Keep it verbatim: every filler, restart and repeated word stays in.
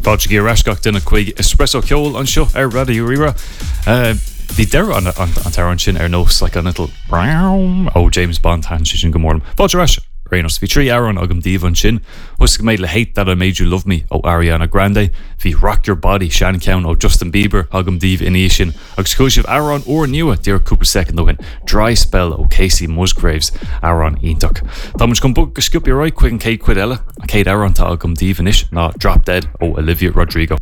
Fáilte ar ais gach duine chuig Espresso Ceol anseo ar Raidió Rí-Rá. Bhí deireadh an an t-amhrán sin ar nós like an little brown ó James Bond han sin go mór. Fáilte ar ais Rénos bhí trí amhrán agam daoibh ansin, Thosaigh mé le Hate That I Made You Love Me ó Ariana Grande, bhí Rock Your Body seancheann ó Justin Bieber agam daoibh ina dhiaidh sin, agus chuala sibh amhrán úrnua díreach cúpla soicind ó shin, Dry Spell ó Kacey Musgraves amhrán iontach. Tá muid chun bogadh go sciobtha ar aghaidh chuig an chéad chuid eile, an chéad amhrán atá agam daoibh anois ná Drop Dead ó Olivia Rodrigo.